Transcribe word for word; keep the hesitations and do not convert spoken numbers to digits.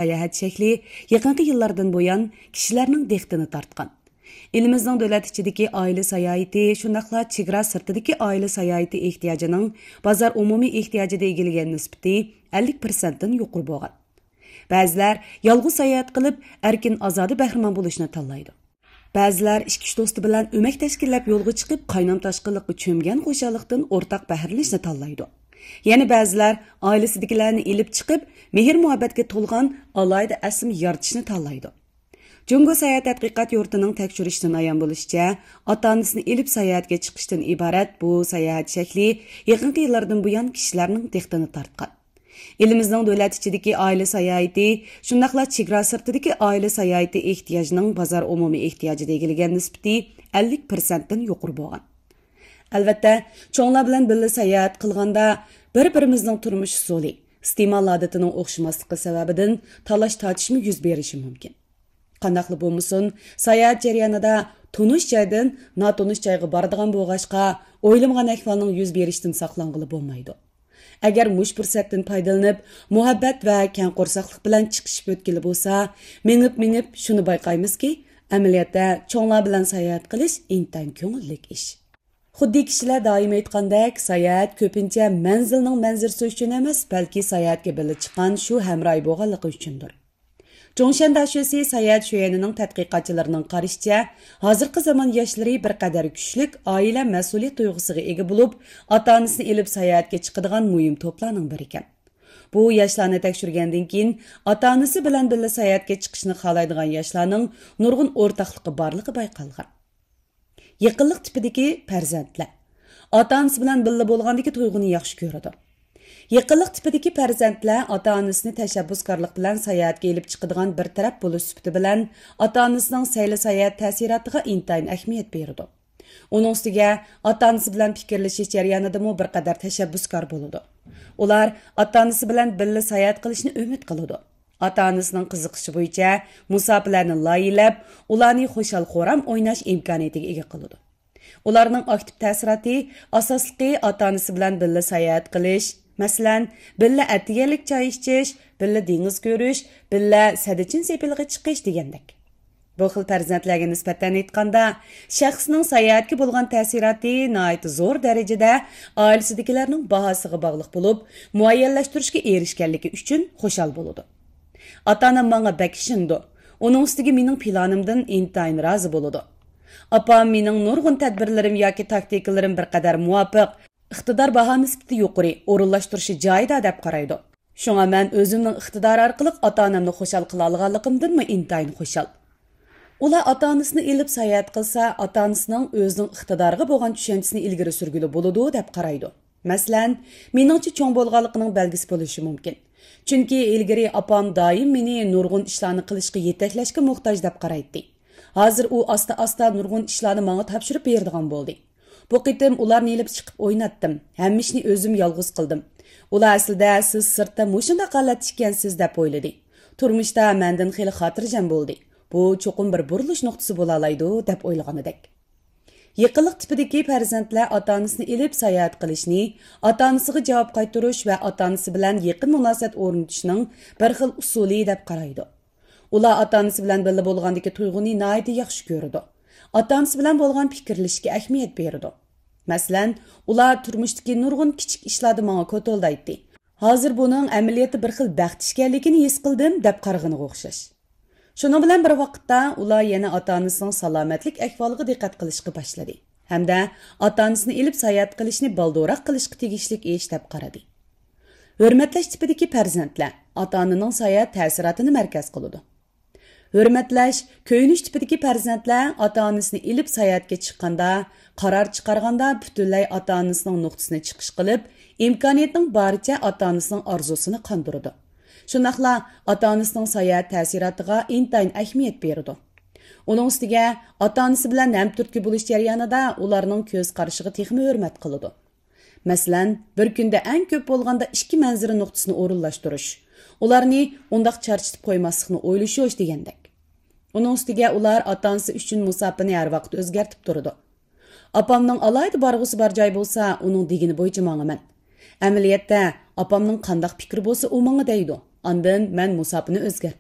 ساياھەت شەكلى يېقىنقى يىللاردىن بۇيان كىشىلەرنىڭ دىققىتىنى تارتقان. ئېلىمىزنىڭ دۆلەت ئىچىدىكى ئائىلە ساياھىتى، شۇنداقلا چېگرا سىرتىدىكى ئائىلە ساياھىتى ئېھتىياجىنىڭ بازار ئومۇمىي ئېھتىياجىدا ئىگىلىگەن نىسبىتى ئەللىك پىرسەنتتىن يۇقىرى بولغان. بەزىلەر يالغۇز ساياھەت قىلىپ، ئەركىن ئازادە بەھرىمەن بولۇشنى تاللايدۇ. بەزىلەر ئىككى-ئۈچ دوستى بىلەن ئۆمەك تەشكىللەپ يولغا چىقىپ، قاينام-تاشقىنلىققا چۆمگەن خۇشاللىقتىن ئورتاق بەھرىلىنىشنى تاللايدۇ. يەنە بەزىلەر ئائىلىسىدىكىلەرنى ئېلىپ چىقىپ، مېھىر-مۇھەببەتكە تولغان ئالاھىدە ئەسلىمە يارىتىشنى تاللايدۇ. جۇڭگو ساياھەت تەتقىقات يۇرتىنىڭ تەكشۈرۈشىدىن ئايان بولۇشىچە، ئاتا-ئانىسىنى ئېلىپ ساياھەتكە چىقىشتىن ئىبارەت بۇ ساياھەت شەكلى يېقىنقى يىللاردىن بۇيان كىشىلەرنىڭ دىققىتىنى تارتقان. ئېلىمىزنىڭ دۆلەت ئىچىدىكى ئائىلە ساياھىتى، شۇنداقلا چېگرا سىرتىدىكى ئائىلە ساياھىتى ئېھتىياجىنىڭ بازار ئومۇمىي ئېھتىياجىدا ئىگىلىگەن نىسبىتى ئەللىك پىرسەنتتىن يۇقىرى بولغان. ئەلۋەتتە، چوڭلار بىلەن بىللە ساياھەت قىلغاندا، بىر-بىرىمىزنىڭ تۇرمۇش ئۇسۇلى، ئىستېمال ئادىتىنىڭ ئوخشىماسلىقى سەۋەبىدىن تالاش-تارتىشمۇ يۈز بېرىشى مۇمكىن. قانداقلا بولمىسۇن، ساياھەت جەريانىدا تونۇش جايدىن ناتونۇش جايغا بارىدىغان بولغاچقا، ئويلىمىغان ئەھۋالنىڭ يۈز بېرىشىدىن ساقلانغىلى بولمايدۇ. ئەگەر مۇشۇ پۇرسەتتىن پايدىلىنىپ، مۇھەببەت ۋە كەڭ قورساقلىق بىلەن چىقىشىپ ئۆتكىلى بولسا، مېڭىپ-مېڭىپ شۇنى بايقايمىزكى، ئەمەلىيەتتە چوڭلار بىلەن ساياھەت قىلىش ئىنتايىن كۆڭۈللۈك ئىش. خۇددى كىشىلەر دائىم ئېيتقاندەك، ساياھەت كۆپىنچە مەنزىلنىڭ مەنزىرىسى ئۈچۈن ئەمەس، بەلكى ساياھەتكە بىللە چىققان شۇ ھەمراھى بولغانلىقى ئۈچۈندۇر. جۇڭشەن داشۆسى ساياھەت شۆيۈنىنىڭ تەتقىقاتچىلىرىنىڭ قارىشىچە، ھازىرقى زامان ياشلىرى بىر قەدەر كۈچلۈك ئائىلە مەسئۇلىيەت تۇيغۇسىغا ئىگە بولۇپ، ئاتا-ئانىسىنى ئېلىپ ساياھەتكە چىقىدىغان مۇھىم توپلارنىڭ بىرى ئىكەن. بۇ ياشلارنى تەكشۈرگەندىن كېيىن، ئاتا-ئانىسى بىلەن بىللە ساياھەتكە چىقىشنى خالايدىغان ياشلارنىڭ نۇرغۇن ئورتاقلىقى بارلىقى بايقالغان. يېقىنلىق تىپىدىكى پەرزەنتلەر ئاتا-ئانىسى بىلەن بىللە بولغاندىكى تۇيغۇنى ياخشى كۆرىدۇ. يېقىنلىق تىپىدىكى پەرزەنتلەر ئاتا-ئانىسىنى تەشەببۇسكارلىق بىلەن ساياھەتكە ئېلىپ چىقىدىغان بىر تەرەپ بولۇش سۈپىتى بىلەن ئاتا-ئانىسىنىڭ سەيلە ساياھەت تەسىراتىغا ئىنتايىن ئەھمىيەت بېرىدۇ. ئۇنىڭ ئۈستىگە ئاتا-ئانىسى بىلەن پىكىرلىشىش جەريانىدىمۇ بىر قەدەر تەشەببۇسكار بولىدۇ. ئۇلار ئاتا-ئانىسى بىلەن بىللە ساياھەت قىلىشنى ئۈمىد قىلىدۇ. ئاتا-ئانىسىنىڭ قىزىقىشى بويىچە مۇساپىلەرنى لايىھەلەپ، ئۇلارنى خۇشال-خۇرام ئويناش ئىمكانىيىتىگە ئىگە قىلىدۇ. ئۇلارنىڭ ئاكتىپ تەسىراتى ئاساسلىقى ئاتا-ئانىسى بىلەن بىللە ساياھەت قىلىش، مەسىلەن، بىللە ئەتىگەنلىك چاي ئىچىش، بىللە دېڭىز كۆرۈش، بىللە سەددىچىن سېپىلىغا چىقىش دېگەندەك. بۇ خىل پەرزەنتلەرگە نىسبەتەن ئېيتقاندا، شەخسنىڭ ساياھەتكە بولغان تەسىراتى ناھايىتى زور دەرىجىدە ئائىلىسىدىكىلەرنىڭ باھاسىغا باغلىق بولۇپ، مۇئەييەنلەشتۈرۈشكە ئېرىشكەنلىكى ئۈچۈن خۇشال بولىدۇ. ئاتا-ئانام ماڭا بەك ئىشىنىدۇ. ئۇنىڭ ئۈستىگە مېنىڭ پىلانىمدىن ئىنتايىن رازى بولىدۇ. ئاپام مېنىڭ نۇرغۇن تەدبىرلىرىم ياكى تاكتىكىلىرىم بىر قەدەر مۇۋاپىق، ئىقتىدار باھا نىسبىتى يۇقىرى، ئورۇنلاشتۇرۇشى جايىدا دەپ قارايدۇ. شۇڭا مەن ئۆزۈمنىڭ ئىقتىدارى ئارقىلىق ئاتا-ئانامنى خۇشال قىلالىغانلىقىمدىنمۇ ئىنتايىن خۇشال. ئۇلار ئاتا-ئانىسىنى ئېلىپ ساياھەت قىلسا، ئاتا-ئانىسىنىڭ ئۆزىنىڭ ئىقتىدارىغا بولغان چۈشەنچىسىنى ئىلگىرى سۈرگىلى بولىدۇ دەپ قارايدۇ. مەسىلەن، مېنىڭچە چوڭ بولغانلىقىنىڭ بەلگىسى بولۇشى مۇمكىن. چۈنكى ئىلگىرى ئاپام دائىم مېنى نۇرغۇن ئىشلارنى قىلىشقا يېتەكلەشكە موھتاج دەپ قارايتتى. ھازىر ئۇ ئاستا-ئاستا نۇرغۇن ئىشلارنى ماڭا تاپشۇرۇپ بېرىدىغان بولدى. بۇ قېتىم ئۇلارنى ئېلىپ چىقىپ ئويناتتىم. ھەممە ئىشنى ئۆزۈم يالغۇز قىلدىم. ئۇلار ئەسلىدە سىز سىرتتا مۇشۇنداق ھالەتتە ئىكەنسىز دەپ ئويلىدى. تۇرمۇشتا مەندىن خېلى خاتىرجەم بولدى. بۇ چوقۇم بىر بۇرۇلۇش نۇقتىسى بولالايدۇ دەپ ئويلىغىنىدەك. يېقىنلىق تىپىدىكى پەرزەنتلەر ئاتا-ئانىسىنى ئېلىپ ساياھەت قىلىشنى، ئاتا-ئانىسىغا جاۋاب قايتۇرۇش ۋە ئاتا-ئانىسى بىلەن يېقىن مۇناسىۋەت ئورنىتىشنىڭ بىر خىل ئۇسۇلى دەپ قارايدۇ. ئۇلار ئاتا-ئانىسى بىلەن بىللە بولغاندىكى تۇيغۇنى ناھايىتى ياخشى كۆرىدۇ. ئاتا-ئانىسى بىلەن بولغان پىكىرلىشىشكە ئەھمىيەت بېرىدۇ. مەسىلەن، ئۇلار تۇرمۇشتىكى نۇرغۇن كىچىك ئىشلاردا ماڭا كوتۇلدايتتى. ھازىر بۇنىڭ ئەمەلىيەتتە بىر خىل بەخت ئىكەنلىكىنى ھېس قىلدىم دەپ قارىغىنىغا ئوخشاش. شۇنىڭ بىلەن بىر ۋاقىتتا، ئۇلار يەنە ئاتا-ئانىسىنىڭ سالامەتلىك ئەھۋالىغا دىققەت قىلىشقا باشلىدى ھەمدە ئاتا-ئانىسىنى ئېلىپ ساياھەت قىلىشنى بالدۇرراق قىلىشقا تېگىشلىك ئىش دەپ قارىدى. ھۆرمەتلەش تىپىدىكى پەرزەنتلەر ئاتا-ئانىنىڭ ساياھەت تەسىراتىنى مەركەز قىلىدۇ. ھۆرمەتلەش، كۆيۈنۈش تىپىدىكى پەرزەنتلەر ئاتا-ئانىسىنى ئېلىپ ساياھەتكە چىققاندا، قارار چىقارغاندا پۈتۈنلەي ئاتا-ئانىسىنىڭ نۇقتىسىنى چىقىش قىلىپ، ئىمكانىيەتنىڭ بارىچە ئاتا-ئانىسىنىڭ ئارزۇسىنى قاندۇرىدۇ. شۇنداقلا ئاتا-ئانىسىنىڭ ساياھەت تەسىراتىغا ئىنتايىن ئەھمىيەت بېرىدۇ. ئۇنىڭ ئۈستىگە، ئاتا-ئانىسى بىلەن ھەمتۈرتكە بولۇش جەريانىدا ئۇلارنىڭ كۆز قارىشىغا تېخىمۇ ھۆرمەت قىلىدۇ. مەسىلەن، بىر كۈندە ئەڭ كۆپ بولغاندا ئىككى مەنزىرە نۇقتىسىنى ئورۇنلاشتۇرۇش، ئۇلارنى ئۇنداق چارچىتىپ قويماسلىقنى ئويلىشىش دېگەندەك. ئۇنىڭ ئۈستىگە ئۇلار ئاتا-ئانىسى ئۈچۈن مۇساپىنى ھەر ۋاقىت ئۆزگەرتىپ تۇرىدۇ. ئاپامنىڭ ئالاھىدە بارغۇسى بار جاي بولسا، ئۇنىڭ دېگىنى بويىچە ماڭىمەن. ئەمەلىيەتتە، ئاپامنىڭ قانداق پىكرى بولسا، ئۇ ماڭا دەيدۇ. ئاندىن مەن مۇساپىنى ئۆزگەرتتىم.